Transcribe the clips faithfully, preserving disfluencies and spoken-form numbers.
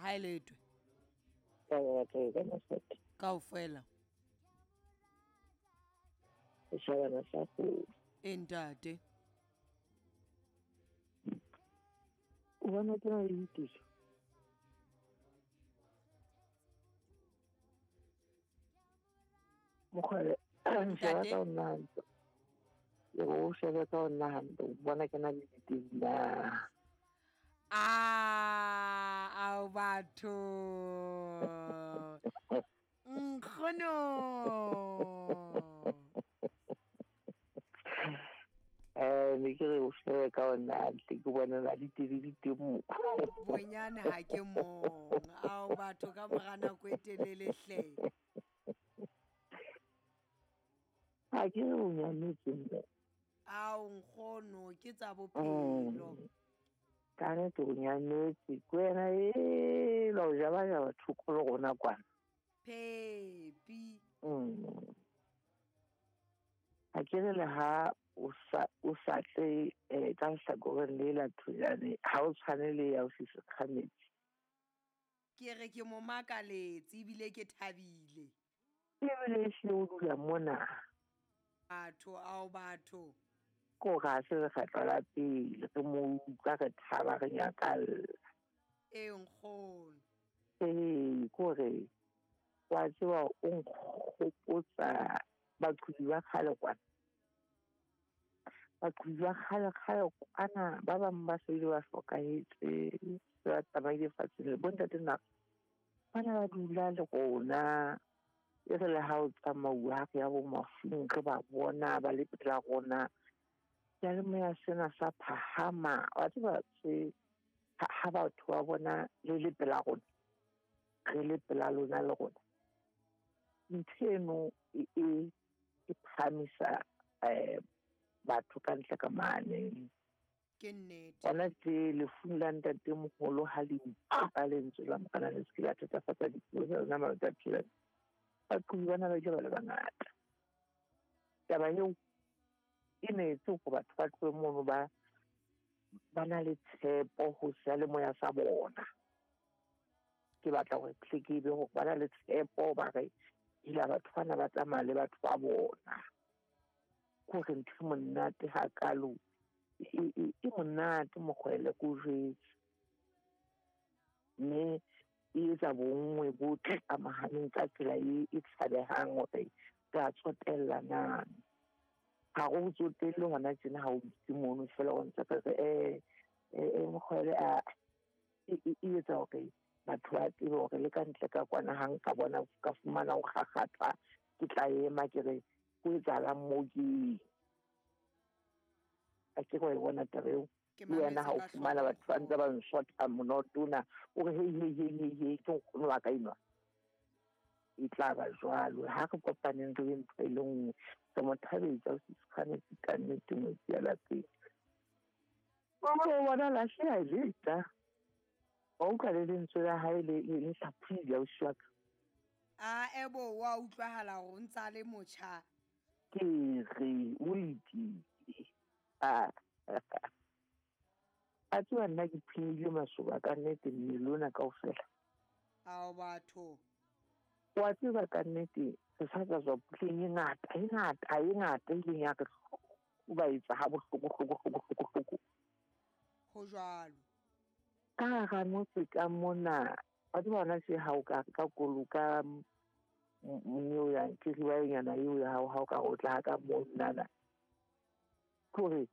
Ha e letwe. Ka batho ka masete. Kaofela. Setjhabana sa go. E ntate. O bona ke na le dituso. Mokgwele, sheba ka ho nna hantle. Ke re o shebe ka ho nna hantle, o bona ke na le diteng na. Ah, ao batho. Nkgono. Eh, ne ke re o shebe ka ho nna hantle, ke bona na diteng di teng mo. Bonyane ha ke mong. Ao batho ka mora nako e telele hle. Ha ke re o nyametse mme. Ao nkgono, ke tsa bophelo. Ka nnete o nyametse, ke wena ela o jabajaba thoko le rona kwana. Phepi. Mm. Ha ke re le ha o sa, o sa tle eh, ka lehlakoreng le la thojane, ha o tshwane le ya o se sekgametsi. Ke re ke mo makaletse ebile ke thabile. Ebile ehlile o dula mona. Batho, ao batho. Ko ga se lekgetlo la pele re mo utlwa re thaba re nyakalla. E nkgono. Ee, ko re wa tseba o nkgopotsa baqhubi ba kgale kwana. Baqhubi ba kgale kgale kwana ba bang ba se ile ba hlokahetse, se ba tsamaile fatsheng le bontate nna bana ba dula le rona. E re le ha o tsamauwa ha re ya bo mafung re ba bona ba le pela rona. Seyalemoya sena sa phahama, wa tseba se ha, ha batho ba bona le le pela rona, re le pela lona le rona. Ntho eno e, e, e phahamisa eh, batho ka ntle ka mane. Ke nnete. Hona tje lefung la ntatemoholo ha le utlwa lentswe la Morena le se ke la thatafatsa dipuo tsa lona matsatsi a phelang. Baqhubi bana ba ile ba le bangata. Taba eo e ne etse hore batho ba tlohe mono ba, ba na le tshepo ho seyalemoya sa bona. Ke batla hore tle ke be hore ba na le tshepo ba re ila batho bana ba tsamaya le batho ba bona. Ke hore ntho e monate hakalo, e, e, e monate mokgwele ke o jwetse. Mme e etsa bonngwe bo tlamahaneng ka tsela e, e tshabehang hore re a tsotella na. Ha re o tsotelle hona tjena ha o dutse mono feela o ntse re re, eh, eh, eh, mokgwele a, e, e, e etsa hore batho ba tsebe hore le ka ntle ka kwana ha nka bona ka fumana ho kgakgathwa, ke tla ema ke re ho etsahalang moo ke eng. A ke re wa e bona taba eo. Ke Le wena ha o mametse ka fumana batho ba ntse ba nsotha monoto ona, o re hei, hei, hei, hei, hei, ke nkgono wa ka enwa. E tla ba jwalo. Ha re kopaneng re be ntho e le nngwe. Re mo thabetsa o se tshwanetse ka nnete ngwetsi ya lapeng. O bona lahleha leta. Wa utlwa le lentswe la hae le, le, le hlaphohile ausi wa ka. A ebo wa utlwahala hore o ntsa le motjha. Ke re o letile. Ah. A tseba nna ke phimile masoba ka nnete mmele ona kaofela. Ao batho. Wa tseba ka nnete re sa tswa tswa puleng e ngata, e ngata, e ngata e ileng ya re o ba etsa ha bohloko, hloko, hloko, hloko, hloko. Ho jwalo. Ka hara motse ka mona, wa tseba hona tje ha o ka ka koloi ka m-, m-, eo ya kiribaenyana eo ya hao, ha o ka o tla ka moo nnana. Ke hore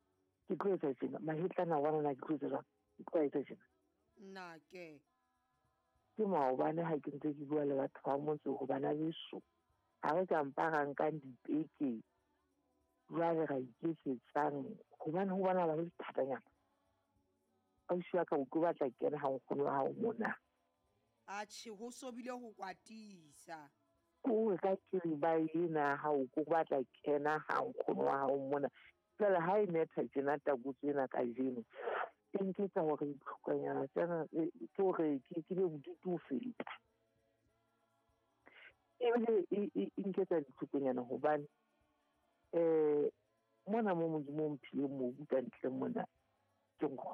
ke tlo etsa tjena, mahetlana wa bona ke tlo etsa jwang? Ke tlo etsa tjena. Nna ke. Ke maobane ha ke ntse ke bua le batho ba motse ho bana beso. Ha re ka mpa ra nkang dipeke, jwale ra iketsetsang, hobane ho bona ba le thatanyana. Ausi wa ka o tlo batla kena ha nkgono wa hao mona. Atjhe, ho so bile ho kwatisa. Ke hore ka kiriba ena ha o ko batla kena ha nkgono wa hao mona. Jwale ha e netha tjena takotso ena kajeno, e nketsa hore ditlhokonyana tsena, e, ke hore ke, ke be bodutu ho feta. Ebile e, e, e nketsa ditlhokonyana hobane, eh, mona mo Modimo o mphileng mobu ka ntle mona, ke nkgono.